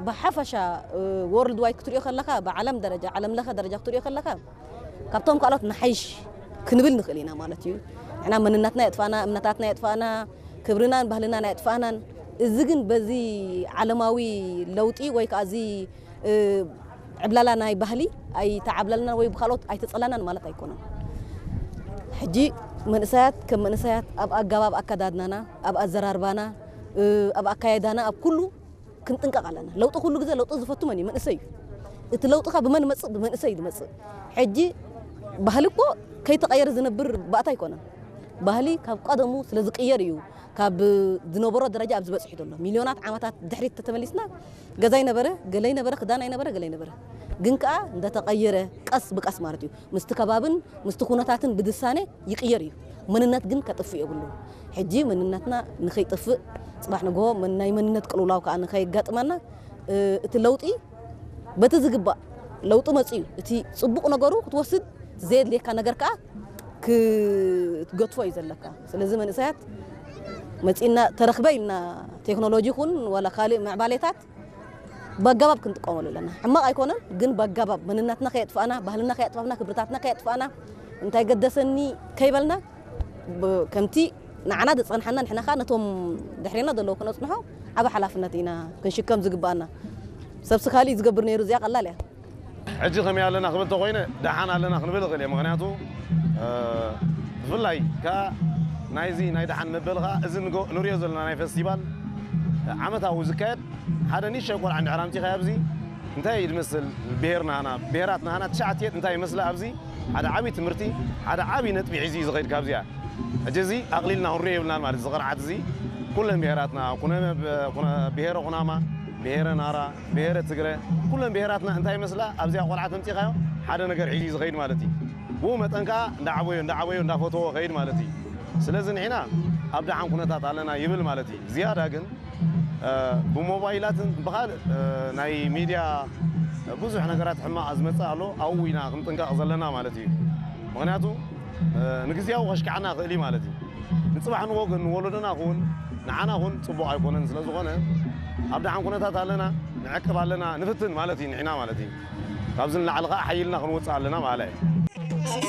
ብሓፈሻ ወርልድ ዋይድ ክትሪኦ ከለኻ፣ ብዓለም ደረጃ፣ ዓለም ለኸ ደረጃ ክትሪኦ ከለኻ፣ ካብቶም ካልኦት ንሓይሽ ክንብል ንኽእል ኢና ማለት እዩ። ንሕና መንነትና የጥፋእና፣ እምነታትና የጥፋእና፣ ክብርናን ባህልናን ኣየጥፋእናን። እዚ ግን በዚ ዓለማዊ ለውጢ ወይ ከዓ እዚ ዕብላላ ናይ ባህሊ ኣይተዓብለልናን ወይ ብካልኦት ኣይተፀላናን ማለት ኣይኮነን። ሕጂ መንእሰያት ከም መንእሰያት ኣብ ኣገባብ ኣከዳድናና፣ ኣብ ኣዘራርባና፣ ኣብ ኣካየዳና፣ ኣብ ኩሉ ክንጥንቀቕ ኣለና። ለውጢ ኩሉ ግዜ ለውጢ ዝፈቱ መን እዩ? መንእሰይ እዩ። እቲ ለውጢ ከ ብመን መጽእ? ብመንእሰይ እዩ ዝመጽእ። ሕጂ ባህሊ እኮ ከይተቐየረ ዝነብር ባእታ ኣይኮነን። ባህሊ ካብ ቀደሙ ስለ ዝቅየር እዩ ካብ ዝነበሮ ደረጃ ኣብዚ በጺሑ ዘሎ። ሚልዮናት ዓመታት ድሕሪት ተተመሊስና ገዛ ይነበረ፣ ገለ ይነበረ፣ ክዳን ኣይነበረ፣ ገለ ይነበረ። ግን ከኣ እንደተቐየረ ቀስ ብቀስ ማለት እዩ። ምስቲ ከባብን ምስቲ ኩነታትን ብድሳኔ ይቅየር እዩ። መንነት ግን ከጥፍእ የብሉ። ሕጂ መንነትና ንኸይጠፍእ፣ ጽባሕ ንግሆ መን-፣ ናይ መንነት ቅልውላው ከኣ ንኸየጋጥመና፣ እ፣ እቲ ለውጢ በቲ ዝግባእ ለውጢ መጽኡ እዩ። እቲ ጽቡቕ ነገሩ ክትወስድ፣ ዘየድልየካ ነገር ከኣ ክትገድፎ እዩ ዘለካ። ስለዚ መንእሰያት መጺእና ተረኽበ ኢልና ቴክኖሎጂ ይኹን ዋላ ካልእ ምዕባሌታት በኣገባብ ክንጥቀመሉ ኣለና። ሕማቕ ኣይኮነን፣ ግን በኣገባብ መንነትና ከየጥፋእና፣ ባህልና ከየጥፋእና፣ ክብርታትና ከየጥፋእና፣ እንታይ ገደሰኒ ከይበልና፣ ብ-፣ ከምቲ ንዓና ዝጸንሓና ንሕና ኸኣ ነቶም ድሕሬና ዘለዉ ክነጽንሖ ዓቢ ሓላፍነት ኢና ክንሽከም ዝግባኣና። ሰብሲ ካልእ እዩ ዝገብር ነይሩ፣ እዚኣ ቀላል እያ። ሕጂ ከመይ ኣለና ክብል ተኾይነ፣ ደሓን ኣለና ክንብል እኽእል እየ። ምኽንያቱ፣ እ፣ ብፍላይ ከኣ ናይዚ ናይ ደሓን መበል ኸኣ እዚ ንጎ-፣ ንሪኦ ዘለና ናይ ፈስቲቫል ዓመታዊ ዝካየድ ሓደ ንእሽተይ ቆልዓ እንድሕር ኣምጺኻዮ ኣብዚ እንታይ እዩ ዝመስል ብሄር ናህና፣ ብሄራት ናህና ትሽዓተ እንታይ ይመስላ ኣብዚ ሓደ ዓቢ ትምህርቲ፣ ሓደ ዓቢ ነጥቢ ሒዙ እዩ ዝኸይድ ካብዚኣ። ሕጂ እዚ ኣቕሊልና ክንሪኦ የብልናን ማለት እዚ ቅርዓት እዚ ኩለን ብሄራትና፣ ኩነ-፣ ኩነ-፣ ብሄረ ኩናማ፣ ብሄረ ናራ፣ ብሄረ ትግረ፣ ኩለን ብሄራትና እንታይ ይመስላ ኣብዚኣ ቆልዓ ተምጺኻዮ ሓደ ነገር ሒዙ እዩ ዝኸይድ ማለት እዩ። ብኡ መጠን ከኣ እንዳዓበዮ፣ እንዳዓበዮ፣ እንዳፈተዎ ኸይድ ማለት እዩ። ስለዚ ንሕና ኣብ ደሓን ኩነታት ኣለና ይብል ማለት እዩ። ዝያዳ ግን፣ እ፣ ብሞባይላትን ብኻልእ፣ እ፣ ናይ ሚድያ ብዙሕ ነገራት ሕማቕ ዝመጽእ ኣሎ። ኣብኡ ኢና ክንጥንቀቕ ዘለና ማለት እዩ። ምኽንያቱ፣ እ፣ ንግዜያዊ ከሽክዓና ይኽእል እዩ ማለት እዩ። ንጽባሕ ንግሆ ግን ንወለዶና ኹን ንዓና ኹን ጽቡቕ ኣይኮነን። ስለ ዝኾነ ኣብ ደሓን ኩነታት ኣለና፣ ንዕቅብ ኣለና፣ ንፍትን ማለት እዩ ንሕና ማለት እዩ። ካብዚ ንላዕሊ ኸኣ ሓይልና ክንወጽእ ኣለና ማለት እዩ።